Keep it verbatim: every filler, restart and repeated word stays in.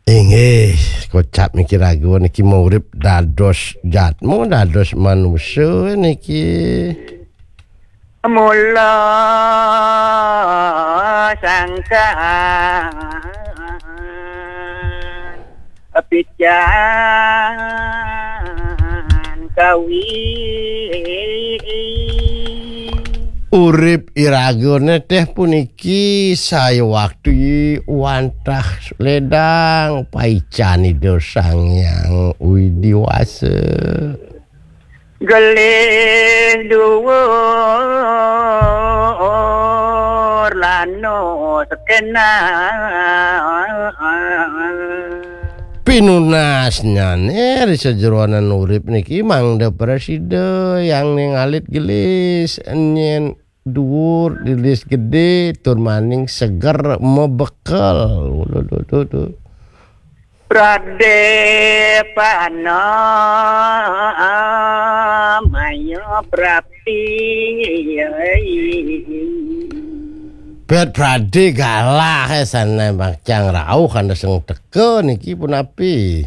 Inggih, kocap niki raga niki mau urip dados jatmu, dados manusa niki. Mula sangkan pican kawi. Urip iragane teh puniki saya waktu wantah ledang paican Ida Sang Hyang Widi Wasa. Gelih dhuwur lano sekena. Pinunasnyane ri sajeroning urip niki mangda prasida yang ning alit gelis, nyen dhuwur, gelis gedhe, tur maning seger mebekel. Ulu, ulu, ulu, ulu. Pradepana maya prapti. Bet prade galah, eh, sana makcang rauh kana sing teka niki punapi.